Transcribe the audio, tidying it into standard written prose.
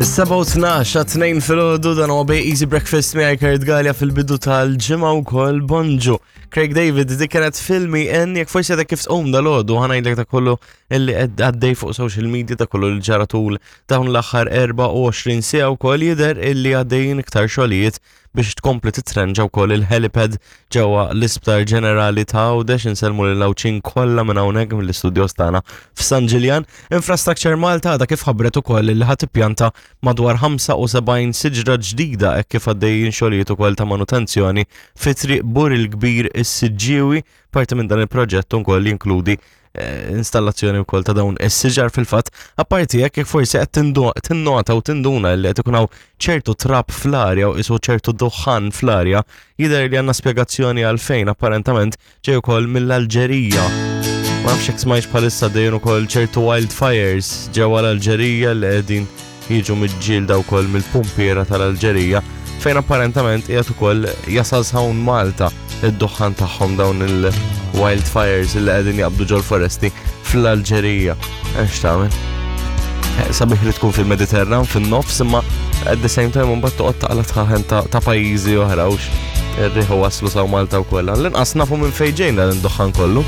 Is-7:12 għat-tnejn filgħodu dan huwa Bay Easy Breakfast miegħi Kurt Galea fil-bidu tal-ġimgħa wkoll bonġu. Craig David dik kienet filmi en jekk forsi għadek kif tqum dal-għodu ħanajdlek ta' kollu illi qed għaddej fuq social media ta' kollu li ġara tul dawn l-aħħar 24 siegħa wkoll jidher illi għaddejjin iktar xogħlijiet biex tkompli titrenġa wkoll il-helipad ġewwa l-Isptar Ġenerali ta' Għawdex insellmu lil Għawdxin kollha minn hawnhekk mill-istudjos tagħna f'San Ġiljan. Infrastructure Malta għadha kif ħabbret ukoll li ħa tippjanta madwar 75 siġra ġdida hekk kif għaddejjin xogħlijiet ukoll ta' manutenzjoni fi Triq Bur il-Kbir is-Siġġiewi. Parti minn dan il-proġett ukoll jinkludi eh, installazzjoni wkoll ta' dawn is-siġar fil-fatt, apparti hekk jekk forsi qed tinnota u tinduna li qed ikun hawn ċertu trab fl-arja u qisu ċertu duħħan fl-arja, jidher li għandna spjegazzjoni għalfejn apparentament ġej ukoll mill-Alġerija. Ma nafx jekk smajtx bħalissa dejjem ukoll ċertu wildfires ġewwa l-Alġerija li qegħdin jiġu miġġielda wkoll mill-pumpiera tal-Alġerija fejn apparentament qiegħed ukoll jasal hawn Malta id-duħħan tagħhom dawn il-wildfires li qegħdin jaqbdu ġol-foresti fl-Alġerija. Eh, x'tagħmel? Eh, sabiħ li tkun fil-Mediterran fin-nofs imma at the same time mbagħad toqgħod taqla tħaħen ta' pajjiżi oħra hux ir-riħu waslu saw Malta wkoll. L-inqas nafu minn fejn ġejna l-duħħan kollu.